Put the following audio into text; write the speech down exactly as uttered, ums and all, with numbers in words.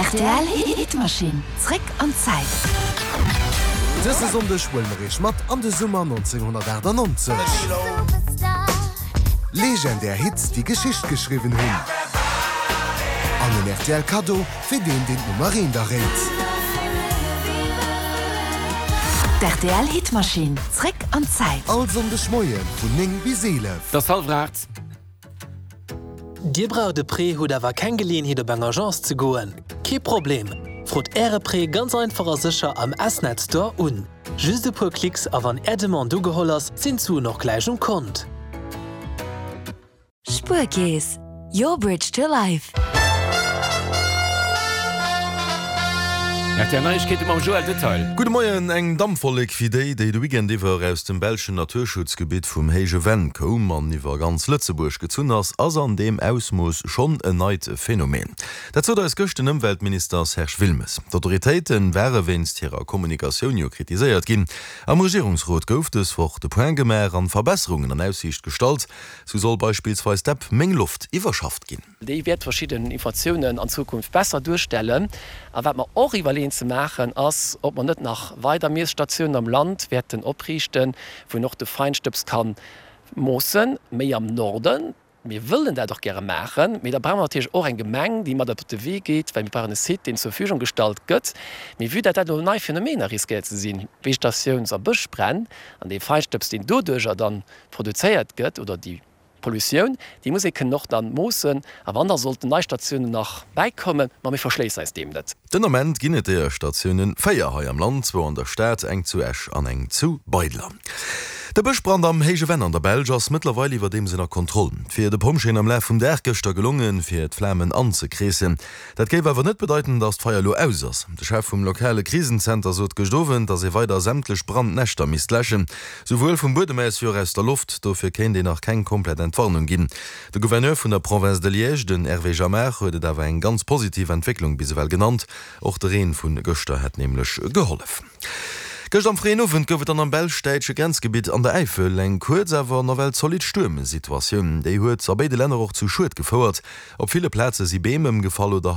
Rtl Hitmaschinn, zréck an d'Zäit. Dëse Sonndeg huele mer iech mat an de Summer nonzénghonnertaachtanonzeg. Legendär Hits, déi Geschicht geschriwwen hunn. An en rtl Kaddo fir deen, deen d'Nummer eent erréit. D'RTL Hitmaschinn, zréck an d'Zäit. All Sonndeg Moie vun néng bis eelef. Et ass hallwer aacht. Dir braucht e Prêt, hutt awer keng Geleeënheet op eng Agence ze goen? Kee Problem! Frot Äre Prêt ganz einfach a sécher am S-Net Store un. Just e puer Klicks a wann Är Demande ugeholl ass, sinn d'Suen och gläich um Kont. Spuerkeess, your bridge to life. R T L Neiegkeete mam Joël Detail. Gudde Moien, Eng Dampwollek wéi déi, déi de Weekend iwwer aus dem belschen Naturschutzgebitt vum Héije Venn koum an iwwer ganz Lëtzebuerg gezunn ass, ass an deem Ausmooss schonn en neit Phänomen. Dat sot eis gëscht den Ëmweltminister Serge Wilmes. D'Autoritéite ware wéinst hirer Kommunikatioun jo kritiséiert ginn. Am Regierungsrot gouf dës Woch de Point gemaach an Verbesserungen an Aussiicht gestallt. Sou soll beispillsweis d'App Meng Loft iwwerschafft ginn. Déi wäert verschidden Informatiounen an Zukunft besser duerstellen. A wat mer och iwwerleeën ze maachen, ass, ob mer net nach weider Miesstatiounen am Land wäerten opriichten, wou een och de Feinstëbs ka moossen, méi am Norden. Mir wëllen dat och gäre maachen, mee da brauche mer natierlech och eng Gemeng, déi mat op de Wee geet, well mir brauchen e Site, deen zur Verfügung gestallt gëtt. Mee vue dat dat elo nei Phänomener riskéiert ze sinn, Vegetatiouns a Bëschbränn, an dee Feinstëbs, deen doduerjer dann produzéiert gëtt, oder déi Pollutioun, déi muss ee kënnen och dann moossen. A wann da sollten nei Statiounen nach bäikommen, ma mir verschléissen eis deem net. Den Ament ginn et deeër Statiounen véier hei am Land, zwou an der Stad, eng zu Esch an eng zu Beidler. De Bëschbrand am Héije Venn an der Belsch ass mëttlerweil iwwerdeems ënner Kontroll. Et wier de Pompjeeën am Laf vum Dag gëschter gelongen, fir d'Flamen anzekreessen. Dat géif awer net bedeiten, datt d'Feier elo aus ass. De Chef vum lokale Krisenzenter sot gëscht Owend, datt ee weider sämtlech Brandnäschter misst läschen, souwuel vum Buedem aus wéi och aus der Loft. Dofir kéint een nach keng komplett Entwarnung ginn. De Gouverneur vun der Province de Liège, den Hervé Jamard, huet et awer eng ganz positiv Entwécklung bis ewell genannt. Och de Reen vu gëschter hätt nämlech gehollef. Gëscht am fréien Owend gouf et dann am belsch-däitsche Grenzgebitt an der Äifel eng kuerz, awer nawell zolidd Stuermsituatioun. Déi huet a béide Länner och zu Schued gefouert. Op ville Plaze si Beem ëmgefall oder.